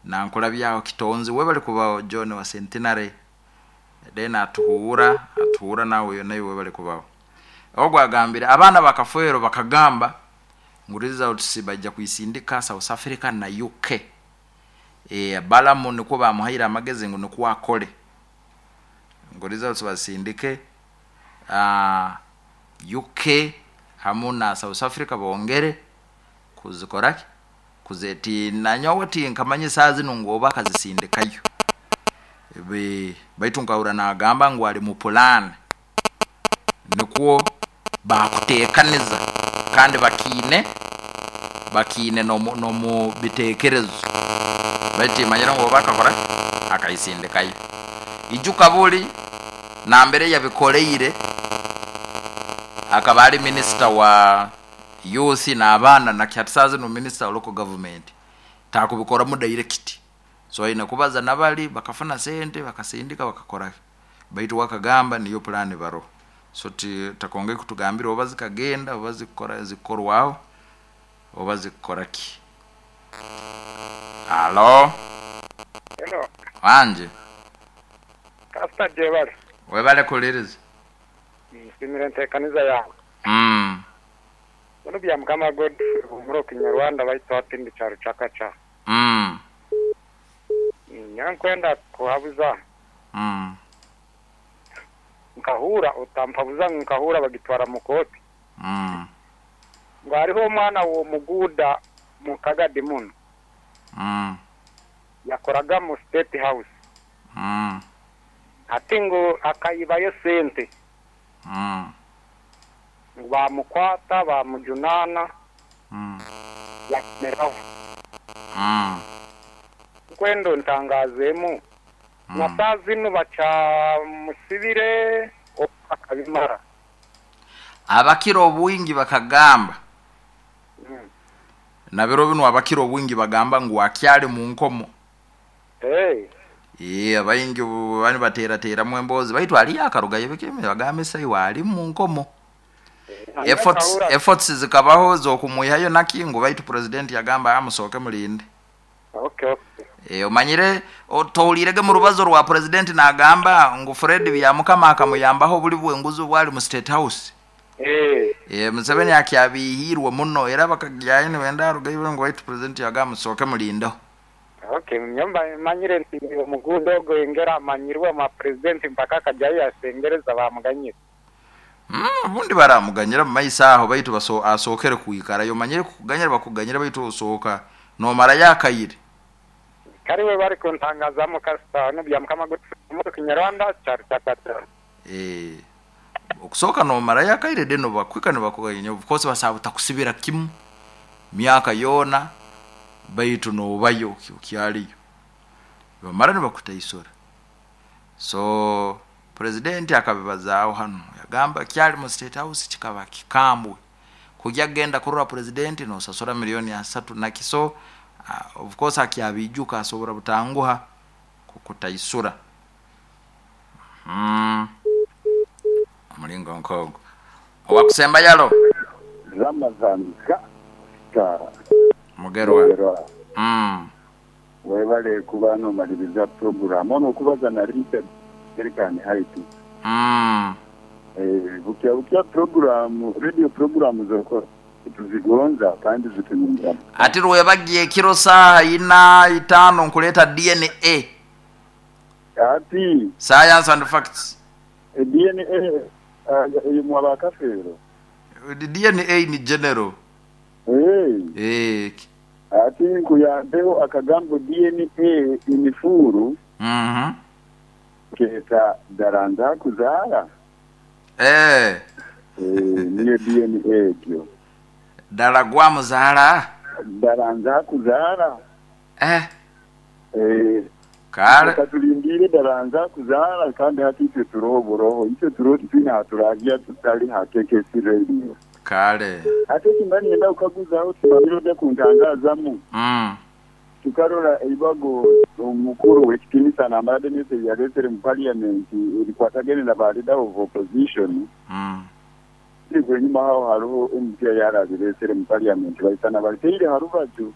Nankulabyaho Kitonzi, webale kubaho. John wa Centenary, then atuhuura atuhuura nawe nawe webale kubaho. Ogwo agambire abaana bakafeero bakagamba ngu results bajja kwisindika South Africa na UK. Balamu nikwo bamuhaire amagezi ngu nikwo akole ngu results bazisindike UK hamu na South Africa, bongere kuzikora ki, kuzeti. Nanyowe tinkamanya esaaha zinu ngu oba akazisindikayo. Baitu nkahurra nagamba ngu ali mu plan, nikwo bakutekaniza kandi bakiine n'omu bitekerezo, baitu timanyire ngu oba akakora ki, akaisindikayo. Ijuka buli nambere yabikoleire akaba ali minisita wa youth n'abaana, naki hati saaha zinu minisita wa local government takubikoramu direct, so aine kubaza nabali bakafuna sente bakasindika bakakora ki, baitu we akagamba niyo plan baroho. So takwongere kutugambira oba zikagenda, oba zikukora, zikukorwaho, oba zikukora ki. Alo. Hello. Wanje. Pastor Jebale. Webale kuliriza. Nsimire entekaniza yawe. Bunu bya Mukama Godfrey Humura Okinyarwanda baitu hati ndi kyaro kya Kacha. Nyowe nkwenda kuhabuza. Nkahura otampabuza ngu nkahura bagitwara mu kooti. Ngu hariho omwana w'omuguuda mu Kagadi muno. Yakoraga mu State House. Hati ngu akaibayo sente. Ngu baamukwata baamujunaana yakomeraho. Nkwenda ontangazeemu na saaha zinu bakyamusibire oba akabimara? Abakira obwingi bakagamba na biro binu, abakira obwingi bagamba ngu akyali mu nkomo. Hey. Abaingi bani bateerateeramu emboozi, baitu aliyo akarugayo bikimi bagamba esaiwa ali mu nkomo. Efforts zikabaho z'okumwihayo naki ngu, baitu president yagamba amusooke mulinde. Omanyire tohuliirege mu rubazo rwa president nagamba ngu Fred Byamukama akamuyambaho obuli bw'enguzi obwali mu State House. Museveni akyabihiirwe muno, era bakagyayo nibenda arugayo ngu, baitu president yagamba musooke mulindeho. Okay, nyowe manyire nti omuguuda ogwo engeri amanyirwe omwa president mpaka akajyayo yasengereza bamuganyira. Obundi baramuganyira mu maiso aho, baitu asookere kwikarayo. Omanyire kukuganyira bakuganyira, baitu osooka nomarayo akaire. Kare we bari kuntangazamu kasita no Byamukama Godfrey Kinyarwanda kyaro kya Katara. Okusooka nomarayo akaire, then bakwika nibakuganya. Of course basobola butakusibira kimu myaka yoona, baitu nobayo okyaliyo, bamara nibakutaisura. So president akabibazaaho hanu, yagamba kyali mu State House kikaba kikambwe kujya kugenda kurora president nosasura 3 miliyoni naki. So of course akyabijuka, asobora butanguha kukutaisura. Omulingo nk'ogwo owakusemba yalo. Ramazan Kasita. Mugerwa. Mugerwa. Webale kuba nomaliriza program ono okubaza na Richard Jerikani haitu. Bukya bukya program, radio program zoko tuzigonza kandi zitunyumira. Ati rwebagiye ekiro saaha 4, 5 nkuleeta DNA. Ati Science and Facts. DNA eyo abakafeero. DNA in general. Hey. Ati nkuyambeho akagambo DNA in full. Keeta ddala nzakuzaara. Niyo DNA egyo. Ddala gwamuzaala. Ddala nzakuzaara. Kale. Katulindiire ddala nzakuzaara, kandi hati itwe turoho buroho, itwe turoho, titwine haturajya tutali ha KKC Radio. Kale. Ate kimba niyenda kukaguzaho, tumanyire ojja kuntangazamu. Tukarora eibago omukuru w'ekitinisa namara Denis yalesere mu parliament erikwatagene na ba leader of opposition. Enyuma aho hariho MP yarabiresere mu parliament, baisana baliteire ha rubaju.